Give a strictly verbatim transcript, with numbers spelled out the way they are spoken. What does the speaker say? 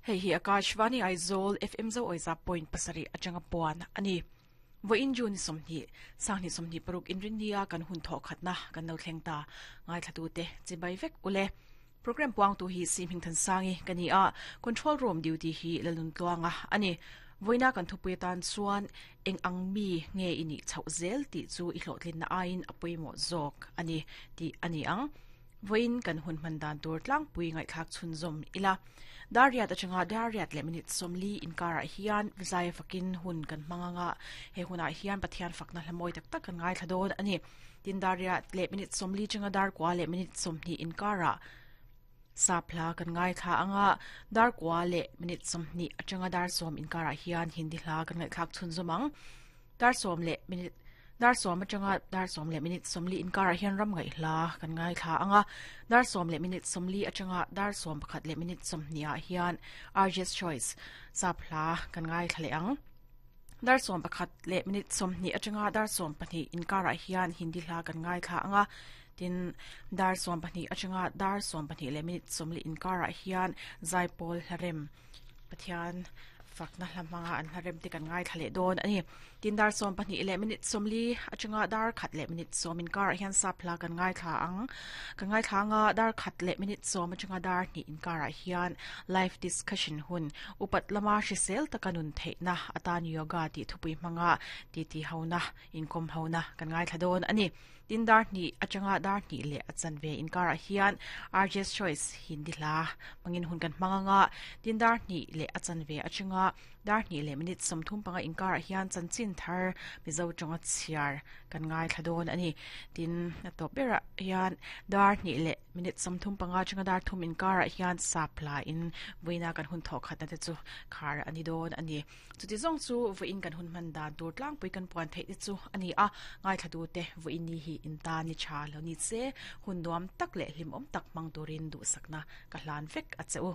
Hei hi Akashvani Aizawl F M zo oiza point pasarih atanga puan ani. Vawiin June sawmhnih, Sanghnih sawmhnih paruk inrinnia kan hun thawh khatna kan lo thleng ta. Ngaithlatute chibai vek ule. Program puangtu hi Si Hmingthansangi ka ni a, Control Room duty hi Lalun Tluanga ani. Vawiina kan thupui atan chuan eng ang mi nge i nih chhoh zel tih chu i hlawhtlinna aiin a pawimawh zawk ani tih a ni ang. Vawiin kan hun hman dan tur tlangpui ngaihthlak chhunzawm ila. Dariat atanga Dariat leh minute sawmli inkarah hian zai fakin hun kan hmang anga he hunah hian Pathian fakna hlamawi tak tak kan ngaithla dawn ani. Tin Dariat leh minute sawmli changa dar kwa leh minute sawmhnih inkarah saphla kan ngaithla anga dar kwa leh minute sawmhnih atanga dar sawm inkarah hian Hindi hla kan ngaihthlak chhunzawm ang. Dar sawm leh minute dar sawm atanga dar sawm leh minute sawmli inkarah hian ram ngaih hla kan ngaithla anga dar sawm leh minute sawmli atanga dar sawm pakhat leh minute sawmhnih ah hian R J's Choice saphla kan ngaithla leh ang. Dar sawm pakhat leh minute sawmhnih atanga dar sawm pahnih inkarah hian Hindi hla kan ngaithla anga tin dar sawm pahnih atanga dar sawm pahnih leh minute sawmli inkarah hian Zaipawl hlarem Pathian fakna hlamanga an hlarem te kan ngaithla leh dawn ani. Tin dar sawm pahnih leh minute sawmli atanga dar khat leh minute sawm inkarah hian saphla kan ngaithla ang. Kan ngaithla anga dar khat leh minute sawm atanga dar hnih inkarah hian live discussion hun upat lama hrisel taka nun theihna atan yoga tih thupui hmanga ti ti hona inkom hona kan ngaithla dawn ani. Tin dar hnih atanga dar hnih leh a chanve inkarah hian R J's Choice Hindi hla mangin hun kan hmang anga tin dar hnih leh a chanve atanga dar hnih leh minute sawmthum panga inkarah hian chanchin thar Mizo tawnga chhiar kan ngaithla dawn ani. Tin a tawp berah hian dar hnih leh minute sawmthum panga atanga dar thum inkarah hian saphla in vawiina kan hun thawh khatna te chu khar ani dawn ani. Chuti zawng chu vawiin kan hun hman dan tur tlangpui kan puan theih te chu ani a, ngaithlatute vawiin ni hi inta ni tha lo ni che hun nuam tak leh hlimawm tak hmang turin duhsakna ka hlan vek a che u.